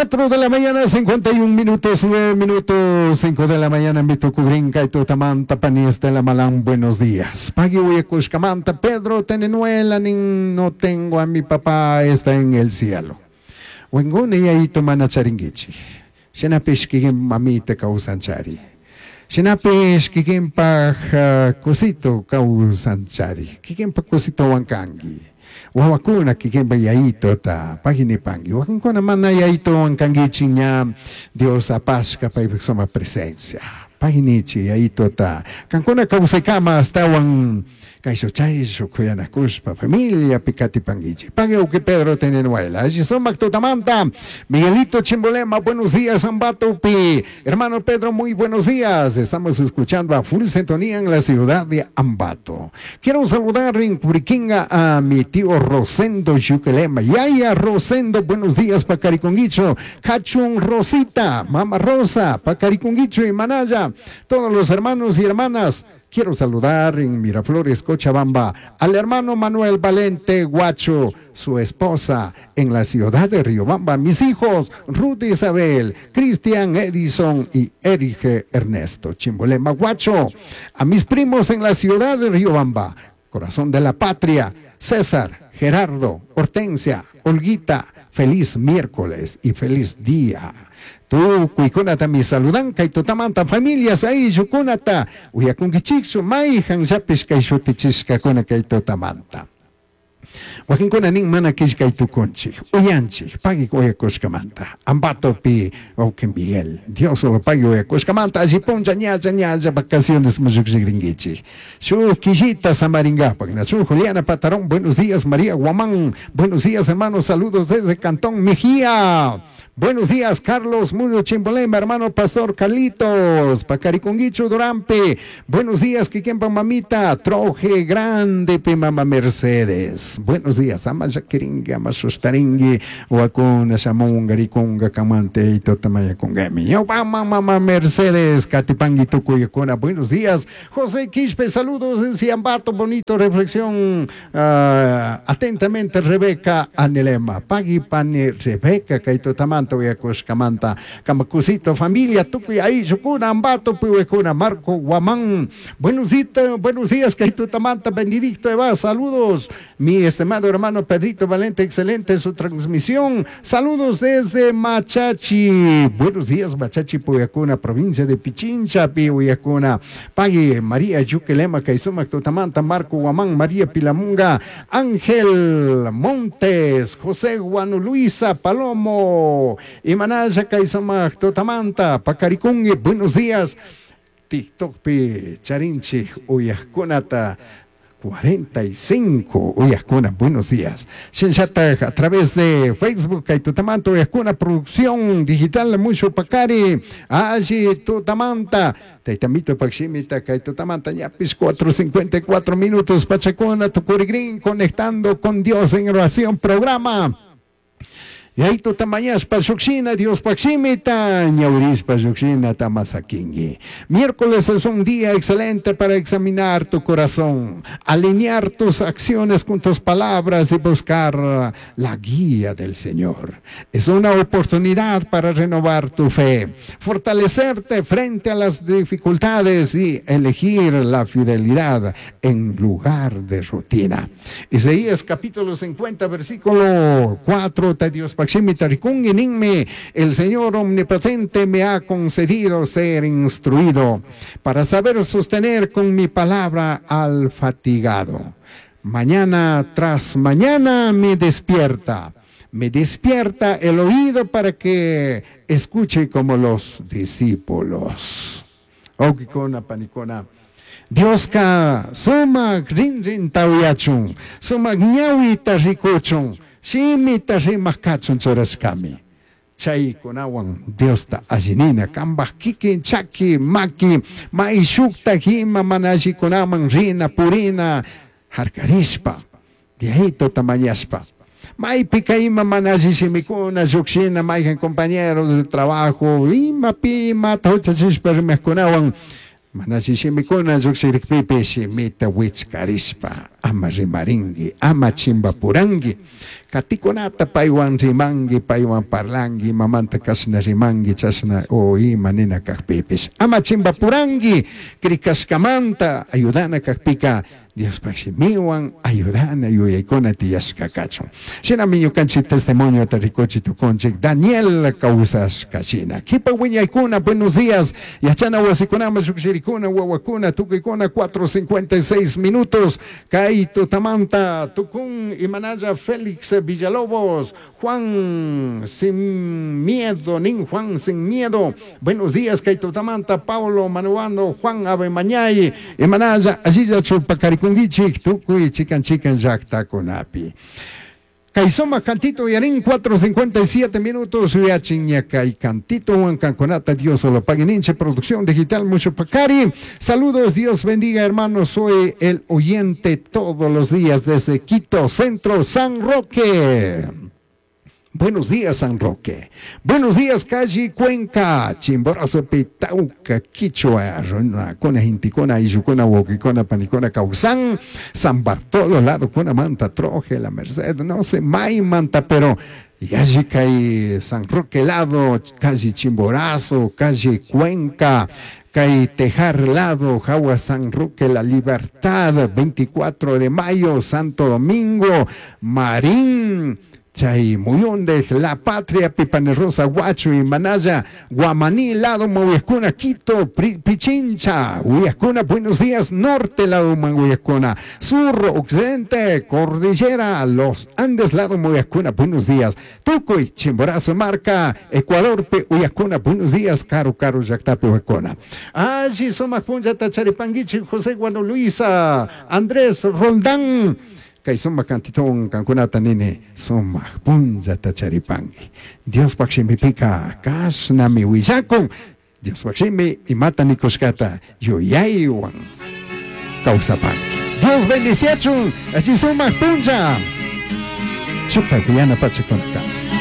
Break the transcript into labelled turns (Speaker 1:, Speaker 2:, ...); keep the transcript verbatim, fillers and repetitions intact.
Speaker 1: Cuatro de la mañana, cincuenta y un minutos, nueve minutos, cinco de la mañana, mitucugrinca y tutamanta, pani Estela Malán, buenos días. Pagui uyacushcamanta, Pedro Tenenuela, nin, no tengo a mi papá, está en el cielo. Wengune yayito mana charinguichi. Shinapish kikin mamita kawsanchari. Shinapish kikinpaj uh, cosito kawsanchari. Kikinpaj cosito wankangi. Wawakuna kikinpa yayitota paginipangi. Wakinkuna mana yayito wankangichi, ña Dios apashka paypaj suma presencia. Paginichi yayitota. Kankuna kawsaykama astawan kayshu chayshu kuyanakushpa familia pikatipanguichi. Pagui uki Pedro Tenenuela. Sumak tutamanta. Miguelito Chimbolema, buenos días, Ambatopi. Hermano Pedro, muy buenos días. Estamos escuchando a full sintonía en la ciudad de Ambato. Quiero saludar en Curiquinga a mi tío Rosendo Yuquelema. Yaya Rosendo, buenos días, Pacariconguicho. Cachun Rosita, Mama Rosa, Pacariconguicho y Manaya. Todos los hermanos y hermanas. Quiero saludar en Miraflores, Cochabamba, al hermano Manuel Valente Guacho, su esposa en la ciudad de Riobamba, mis hijos Ruth Isabel, Cristian Edison y Erige Ernesto Chimbolema Guacho, a mis primos en la ciudad de Riobamba, corazón de la patria, César, Gerardo, Hortensia, Olguita, feliz miércoles y feliz día. Tukuykunata mi saludan kay tutamanta familias ayllukunata uyakunkichiksu mayhan llapish kay shutichishkakuna kay tutamanta. Wakinkuna nin mana killkay tukunchik, uyanchik, pagui uyakushkamanta. Ambatopi, wawqi Miguel, Dios lo pague uyakushkamanta, alli puncha ñalla ñalla vacaciones mushukshirinkichik. Shuk killita samaringapak, Nachu Juliana Patarón, buenos días, María Guamán, buenos días, hermanos, saludos desde Cantón Mejía. Buenos días, Carlos Muñoz Chimbolema, hermano Pastor Carlitos, Pacariconguicho Durampe. Buenos días, Kikempa Mamita, Troje Grande, Pe Mama Mercedes. Buenos días, ama Shakiringi, ama Sustaringui, Wakuna, Shamunga, Rikunga, Kamante, y Totamaya Kungemi. Mama Mama Mercedes, Katipangui Tukuyakuna. Buenos días, José Quispe, saludos en Ciambato, bonito reflexión. Uh, atentamente, Rebeca Anelema. Pagui Pane Rebeca, Kaitotamanta. Uyakushkamanta Kamakusito familia tukuy ayllukuna Ambato piwekuna Marco Guamán, buenos días, buenos días, Kaitutamanta Benedicto Eva, saludos, mi estimado hermano Pedrito Valente, excelente su transmisión, saludos desde Machachi, buenos días, Machachi Puyacuna, provincia de Pichincha, Piuyacuna, Pagui María Yuquelema, Kaisumac Tutamanta, Marco Guamán, María Pilamunga, Ángel Montes, José Juan Luisa Palomo, Imanaya Kaisamaj Totamanta, Pacaricungue, buenos días. TikTok pi charinchi uyajkunata cuarenta y cinco uyajkuna, buenos días. Shinshata a través de Facebook kay tutamanta uyajkuna producción digital mucho pacari alli tutamanta taytamito pakshimita kay tutamanta ñapis cuatro cincuenta y cuatro minutos pachacuna tukurigrin conectando con Dios en oración programa. Yayituta mañashpa llukshina Diospaj shimita ñawirishpa llukshina tamasakingi. Miércoles es un día excelente para examinar tu corazón, alinear tus acciones con tus palabras y buscar la guía del Señor. Es una oportunidad para renovar tu fe, fortalecerte frente a las dificultades y elegir la fidelidad en lugar de rutina. Isaías capítulo cincuenta, versículo cuatro, Dios el Señor omnipotente me ha concedido ser instruido para saber sostener con mi palabra al fatigado. Mañana tras mañana me despierta, me despierta el oído para que escuche como los discípulos. Wawqikuna, panikuna. Dioska sumak rinrinta uyachun, sumak ñawita rikuchun, shimita rimak kachun churashkami. Chaykunawan Diosta allinina, kambaj kikin chaki, maki, maishukta hima mana allikunaman rina, purina, harkarishpa, Diositota mañashpa. Maypika ima mana alli shimikuna, llukshina, mayjan compañeros de trabajo, ima pi imata huchachishpa rimajkunawan. Mana shimikuna llukshirikpipish shimita wichkarishpa ama rimarinki, ama chimbapuranki. Katikunata paywan rimanki, paywan parlanki, imamanta kashna rimanki, chashna o ima nina kakpipish. Ama chimbapuranki, krikashkamanta ayudana kakpika Diospaj shimiwan ayudana yuyaykuna tiyashka kachun. Shinami ñukanchik testimoniota rikuchi tukunchik Daniel kawsashka shina. Kipa wiñaykuna, buenos días. Yachana wasikunaman llukshirikuna, wawakuna, tukuykuna, cuatro cincuenta y seis minutos. Kay tutamanta tukun imanalla Félix Villalobos, Juan sin miedo, nin Juan sin miedo. Buenos días, kay tutamanta Paulo Manuano, Juan Abemañay, imanalla allilla chupakarikunkichik tukuy chikan chikan llaktakunapi. Kay sumak cantito yarin cuatro cincuenta y siete minutos uyachin kay cantito huancanconata Dios solo pague producción digital mucho pacari. Saludos, Dios bendiga hermanos, soy el oyente todos los días desde Quito, Centro San Roque. Buenos días, San Roque. Buenos días, calle Cuenca, Chimborazo, Petauca, Quichua, Rona, Cona, Inticona, Iyucona, Huoquicona, Panicona, Causán, San Bartolo, lado, Cona, Manta, Troje, La Merced, no sé, May, Manta, pero y allí cae San Roque, lado, calle Chimborazo, calle Cuenca, cae Tejar, lado, Jagua, San Roque, La Libertad, veinticuatro de mayo, Santo Domingo, Marín, Chay Muyonde, La Patria, Pipanerrosa, Huacho y Manaya, Guamaní, lado, Mahuescuna, Quito, Pichincha, Huascuna, buenos días, norte, lado, Mahuescuna, sur, occidente, Cordillera, Los Andes, lado, Mahuescuna, buenos días, Tucuy, Chimborazo, Marca, Ecuador, Huascuna, buenos días, Caro, Caro, Yactapi, Huascuna. Allí somos Punjata, Charipanguichi, José Guano Luisa, Andrés Roldán, Kay sumak cantitón kankunata nini sumak punllata charipanki. Diospaj shimipika kashnami willakun. Diospaj shimi imata nikushkata yuyaywan kawsapanki. Dios bendiciachun. Allí sumak punlla. Chukta kuyana pachakunaka.